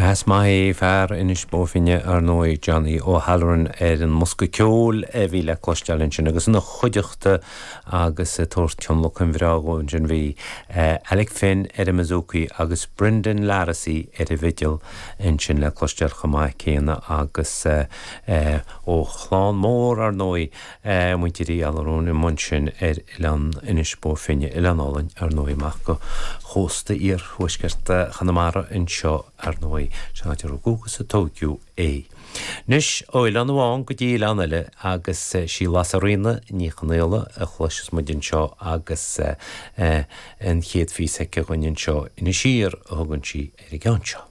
Sea, is maith é fear Inis Bó Finne, ar ndóigh, Johnny O'Halloran ar an mbosca ceoil a bhí le cloisteáil ansin agus ina chuideachta agus ag tabhairt tionlacan bhreá dhó ansin bhí Alec Finn ar an mbouzouki agus Brendan Larrissy ar an bhfidil ansin le cloisteáil chomh maith céanna agus ó chlann mór, ar ndóigh, Muintir Uí Allúráin amuigh ansin ar oileán Inis Bó Finne, oileán álainn, ar ndóigh, amach go chósta iarthuaisceart Chonamara anseo, ar ndóigh, sin áit a rugadh agus a tóigeadh é. Anois, ó oileán amháin go dtí oileán eile agus sí Lasairfhíona Ní Chonaola a chloisfeas muid anseo agus an chéad phíosa aici dhúinn anseo, Inis Oírr a thugann sí ar an gceann seo.